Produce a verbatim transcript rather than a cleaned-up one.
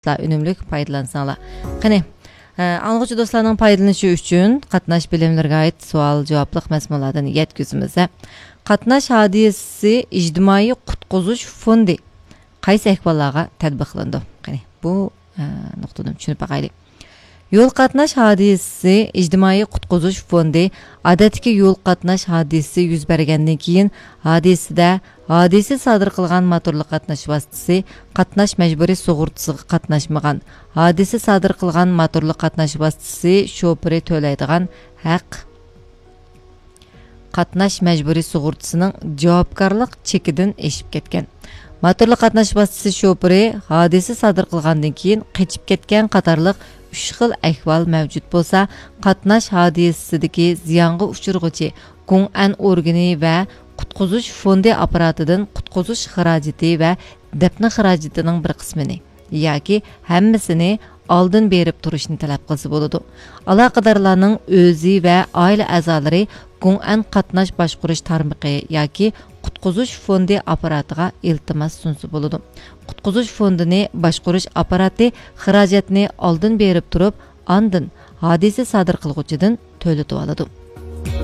ئۈنۈملۈك پايدىلانساڭلار. قېنى، ئە، ئاڭلىغۇچى دوستلارنىڭ پايدىلىنىشى ئۈچۈن قاتناش بىلىملىرىگە ئائىت سوئال-جاۋابلىق مەزمۇنلاردىن يەتكۈزىمىز. قاتناش ھادىسىسى ئىجتىمائىي قۇتقۇزۇش فوندى قايسى ئەھۋاللارغا تەتبىقلىنىدۇ؟ قېنى، بۇ، ئە، نۇقتىدىن چۈشىنىپ باقايلى. يول قاتناش ھادىسىسى ئىجتىمائىي قۇتقۇزۇش فوندى ئادەتتىكى يول قاتناش ھادىسىسى يۈز بەرگەندىن كېيىن، ھادىسىدە ھادىسە سادىر قىلغان موتورلۇق قاتناش ۋاسىتىسى قاتناش مەجبۇرىي سۇغۇرتىسىغا قاتناشمىغان، ھادىسە سادىر قىلغان موتورلۇق قاتناش ۋاسىتىسى شوپۇرى تۆلەيدىغان ھەق قاتناش مەجبۇرىي سۇغۇرتىسىنىڭ جاۋابكارلىق چېكىدىن ئېشىپ كەتكەن. موتورلۇق قاتناش ۋاسىتىسى شوپۇرى ھادىسە سادىر قىلغاندىن كېيىن قېچىپ كەتكەن قاتارلىق ئۈچ خىل ئەھۋال مەۋجۇت بولسا، قاتناش ھادىسىسىدىكى زىيانغا ئۇچرىغۇچى گۇڭئەن ئورگىنى ۋە قۇتقۇزۇش فوندى ئاپپاراتىدىن قۇتقۇزۇش خىراجىتى ۋە دەپنە خىراجىتىنىڭ بىر قىسمىنى ياكى ھەممىسىنى ئالدىن بېرىپ تۇرۇشنى تەلەپ قىلسا بولىدۇ. ئالاقىدارلارنىڭ ئۆزى ۋە ئائىلە ئەزالىرى گۇڭئەن قاتناش باشقۇرۇش تارمىقى ياكى قۇتقۇزۇش فوندى ئاپپاراتىغا ئىلتىماس سۇنسا بولىدۇ. قۇتقۇزۇش فوندىنى باشقۇرۇش ئاپپاراتى خىراجەتنى ئالدىن بېرىپ تۇرۇپ، ئاندىن ھادىسە سادىر قىلغۇچىدىن تۆلىتىۋالىدۇ.